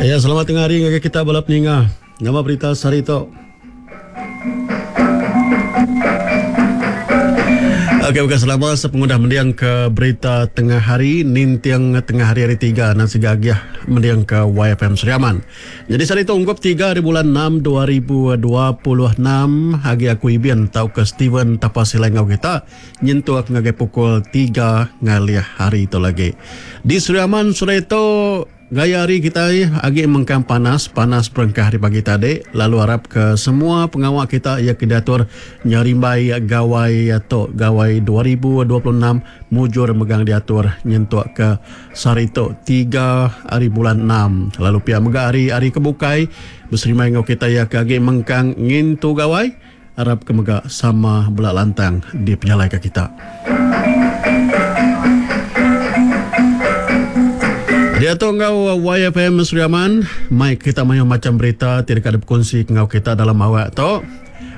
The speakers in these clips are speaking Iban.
Ya, selamat tengah hari ngagai kita bala peninga. Nama berita sehari tu? Okey, bukan selama sepengudah mendiang ke berita tengah hari ninting tengah hari hari tiga nan siga agih mendiang ke YFM Sri Aman. Nyadi sehari tu ungkup tiga hari bulan enam 2026 agi aku Ibin tauka Steven Tapa Silai enggau kita nyentuk ngagai pukul tiga ngalih hari tu lagi. Di Sri Aman sehari tu Gaya hari kitai agi mengkang panas, panas berengkah ari pagi tadi lalu arap ke semua pengawa kita iya ke diatur nyerimbai Gawai tu, Gawai 2026 mujur megang diatur nyentuk ke sehari tu tiga ari bulan enam. Lalu pia mega ari hari ke bukai beserimbai enggau kitai iya ke agi mengkang ngintu Gawai arap ke mega sama bela lantang dipejalaika kita. Diatu enggau YFM Sri Aman, mai kita mayuh macham berita ti deka dipekunsi enggau kita dalam awak tu.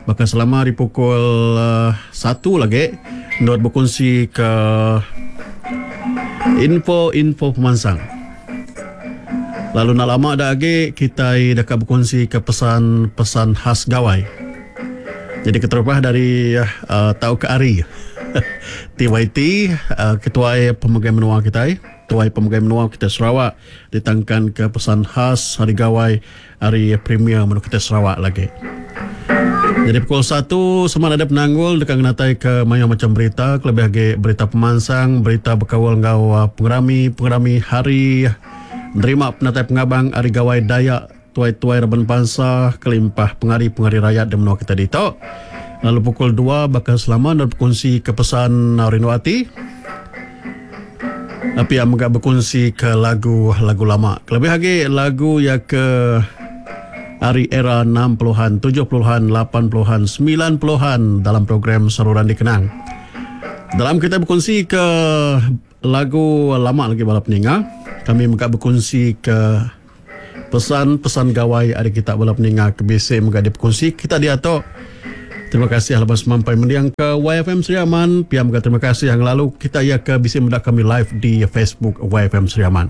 Baka selama di pukul eh, satu lagi endur bekunsi ke info-info pemansang. Lalu enda lama da agi kitai deka bekunsi ke pesan-pesan khas gawai. Jadi keterubah dari uh, tauka ari TYT uh, Ketuai Pemegai Menua kitai, Tuai Pemegai Menua kita Sarawak ditangkan ke pesan khas Hari Gawai ari Premier Menua kita Sarawak lagi. Jadi pukul 1 sama ada penanggul deka ngenatai ke mayuh macam berita kelebih agi berita pemansang, berita bekaul enggau uh, pengerami-pengerami hari nerima penatai pengabang ari Gawai Dayak tuai-tuai raban bansa kelimpah pengari-pengari rayat di menua kita ditu. Lalu pukul 2 baka selama enda bekunsi ke pesan rindu ati. Pia mega bekunsi ke lagu-lagu lama. Kelebih agi lagu iya ke ari era 60-an, 70-an, 80-an, 90-an dalam program Saluran Dikenang. Dalam kita bekunsi ke lagu lama lagi bala peninga, kami mega bekunsi ke Pesan-pesan gawai ari kita bala peninga ke bisi mega dipekunsi kita diatu. Terima kasih laban semampai mending ke YFM Sri Aman. Pia mega terima kasih yang lalu kita iya ke bisi meda kami live di Facebook YFM Sri Aman.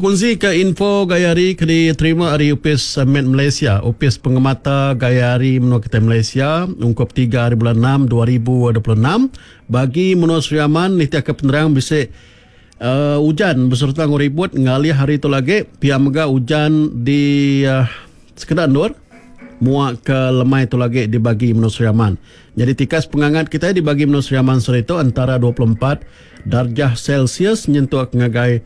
Bekunsi ke info gaya hari ke diterima ari Opis Met Malaysia, Opis Pengemata Gaya Hari Menua Kitai Malaysia ungkup tiga hari bulan enam 2026 bagi menua Sri Aman nitihka penerang bisi uh, ujan besereta enggau ribut ngalih hari tu lagi pia mega ujan di uh, sekeda endur mua ke lemai tu lagi dibagi menua Sri Aman. Nyadi tikas pengangat kitai dibagi menua Sri Aman sehari tu antara 24 darjah Celsius nyentuk ngagai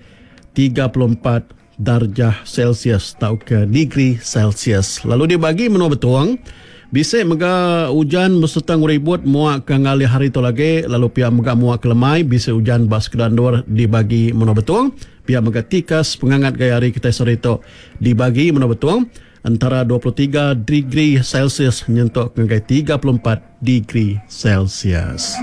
34 darjah Celsius tauka degree Celsius. Lalu dibagi menua Betong, bisi mega ujan besereta enggau ribut mua ke ngalih hari tu lagi lalu pia mega mua ke lemai bisi ujan ba sekeda endur dibagi menua Betong. Pia mega tikas pengangat gaya hari kitai sehari tu dibagi menua Betong entara 23 degree Celsius nyentuk ngagai 34 degree Celsius.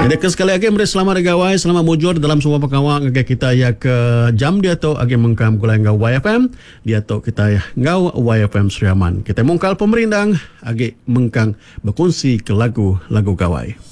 Jadi ke sekali agi meri selamat hari gawai, selamat mujur dalam semua pengawa ngagai kita iya ke jam diatu agi mengkang begulai enggau YFM. Diatu kita enggau YFM Sri Aman. Kita mungkal pemerindang agi mengkang bekunsi ke lagu-lagu gawai.